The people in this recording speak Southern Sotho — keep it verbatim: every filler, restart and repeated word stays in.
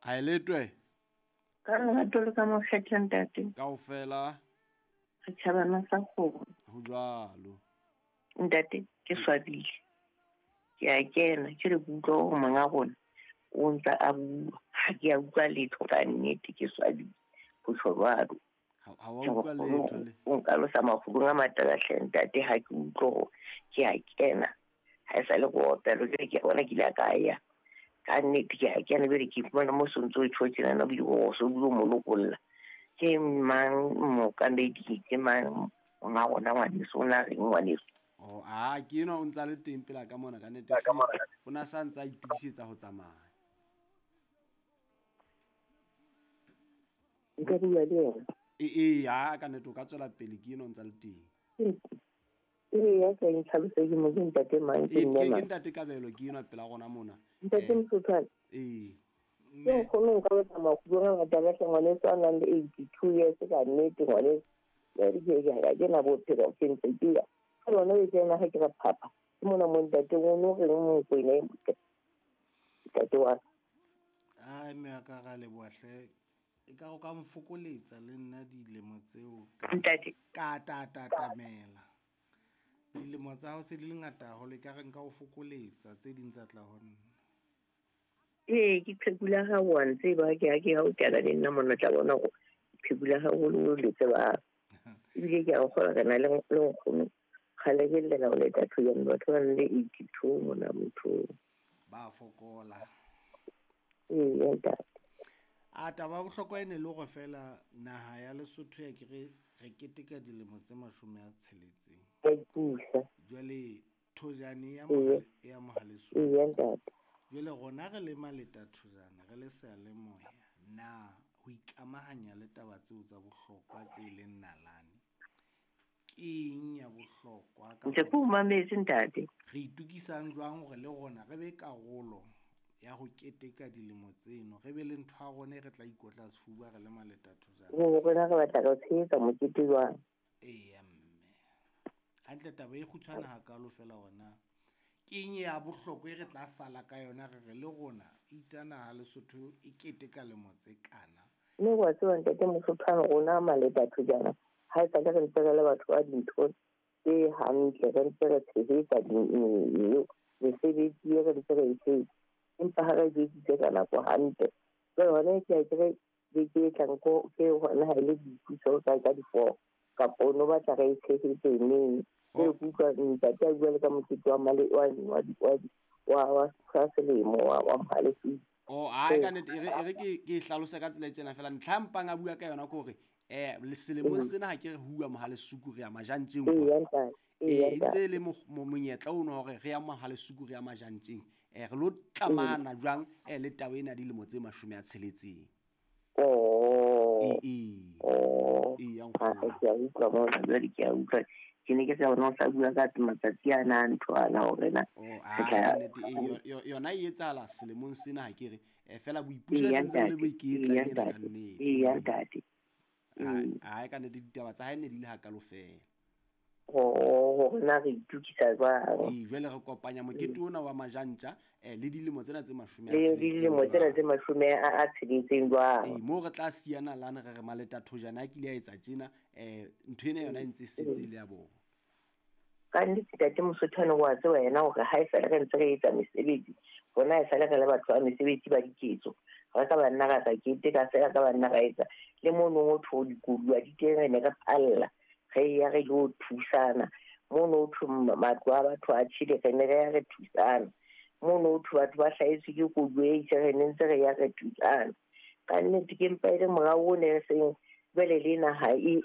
Ha e letwe. Ka lerato le ka mokgetha ntate. Kaofela. Re tjhabana sa kgomo. Ho jwalo. Ntate ke swabile. Ke a kena ke re utlwa hore monga rona o ntsa a bua. Ha ke a utlwa letho ka nnete ke swabile. Ho tjho jwalo. Ha wa utlwa letho le. O nkalosa mafubung a matala hle ntate ha ke utlwe hore ke a kena. Ha e sa le go opela jwale ke a bona ke ile ka ya. Ka nnete ke a kena jwale ke fumana mo sontso o tjho tjena na bile o so bua mo lokolla. Ke mang mookamedi ke mang monga rona ngwaneso o na reng ngwaneso? Oh, ah, ke enwa o ntsa le teng pela ka mona ka nnete. O na sa ntsa itokisetsa ho tsamaya. Nka bua le yena. E e ha ka nnete o ka tswela pele ke enwa o ntsa le teng. Ee, ya ka ntlhalose ke mo ke ntate mang ke Ke mme ke mang. ntate Kabelo ke enwa pela rona mona. Ntate Motsothwane. Ee. Ke nkgono nka batla makgulong a ngata ka hle ngwaneso a nang le eighty-two years ka nnete ngwaneso. Jwale ke ke ha ke na bophelo ke ntse ke ya. Ka lona e tsena ha ke re phapha. Ke mona mo ntate o no reng Mokwena e motle. Ntate wa ka. Ai mme wa ka ra leboha hle. E ka o ka mfokoletsa le nna dilemo tseo ka Ntate. ka tatatamela. Dilemo tsa hao se di le ngata haholo e ka re nka o fokoletsa tse ding tsa tla ho nna. Ee, ke qhekula ha wa ntseba ke ha ke ha o kena le nna mona tla bona hore qhekula haholo le tseba. Ebile ke a kgolwa re na le le nkgono. Kgale ke llela ho leta thujane batho ba nang le eighty-two mona motho. Ba fokola. Ee, ntate. A taba ya bohlokwa e ne le hore feela naha ya Lesotho ya ke re re keteka dilemo tse mashome a tsheletseng. Ka ipusa. Jwale thojane ya Ee. mohale ya Mohaleso. Ee, ntate. Jwale rona re le maleta thojana re le seyalemoya na ho ikamahanya le taba tseo tsa bohlokwa tse leng nalane. Ke eng ya bohlokwa ka Ntse ke o mametse ntate. Re itokisang jwang hore le rona re be karolo ya ho keteka dilemo tseno re be le ntho ya rona e re tla ikotla sefuba re le maleta thojana. Ho rona re batla re tshehetsa mokete jwang? Eya mme. Hantle taba e kgutshwane hakalo feela hore na ke eng ya bohlokwa e re tla sala ka yona re re le rona itse naha Lesotho e keteka lemo tse kana. Mme wa tseba ntate Motsothwane rona maleta thojana ha e sale re ntse re le batho ba dintho tse hantle re ntse re tshehetsa mesebetsi e re ntse re e tshehetsa. Empa ha re jwetsitse ka nako hantle. Jwale hona ke a ke re beke e tlang ko ke hona ha e le boipuso ka ka di-four kapa o no batla re e tshehetse neng. Ke Oh. ke utlwa ntate a bua le ka mokete wa male wa wa wa wa wa wa selemo wa wa Mohaleso. Oh, ai ka nnete e re e re ke ke hlalose ka tsela e tjena feela ntlha mpang a bua ka yona ke hore eh selemong sena ha ke re hua Mohalesuku re ya Majantjeng Ee, kwa. ntate. Eh, Ee, e ntse e le monyetla ono hore re ya Mohalesuku re ya Majantjeng. Eh re lo tlamana jwang eh le taba ena ya dilemo tse mashome a tsheletseng. Oh. Ee, ee. Oh. Ee, ya Ah, nkgono. ke a utlwa mona jwale ke a utlwa. Ke ne ke sa bona o sa bua ka matsatsi ana a ntho ana hore na Oh, re ah, tla ka nnete, ee, yo- yona e etsahala selemong sena ha ke re eh feela boipuso Ee, e sentse bo le ntate. boiketla Ee, ena ka ntate. nnete. Ee, ntate. Ai, Ee. ai ka nnete ditaba tsa hae ne di le hakalo feela. Oh, hore na re itokisa jwang. Ee, jwale re kopanya mokete ona wa Majantja eh le dilemo tsena tse mashome a Le tsheletseng dilemo tsena jwang. tse mashome a a tsheletseng jwang. Ee, moo re tla siyana lane re re maleta thojana a kile a etsa tjena eh ntho ena yona e ntse e setse e le ya bona. Ka nnete ntate Motsothwane wa tseba yena hore ha e sale re ntse re etsa mesebetsi rona e sale re le batho ba mesebetsi ba diketso. Re ka ba nna ra sa keteka feela ka ba nna ra etsa le mono ho thwe dikoduwa di teng re ne re phalla re ya re lo thusana. Mono ho thwe matlo a batho a tjhele re ne re ya re thusana. Mono ho thwe batho ba hlahetswe ke koduwa e itseng re ne ntse re ya re thusana. Ka nnete ke mpa e le morao o ne re seng jwale le naha e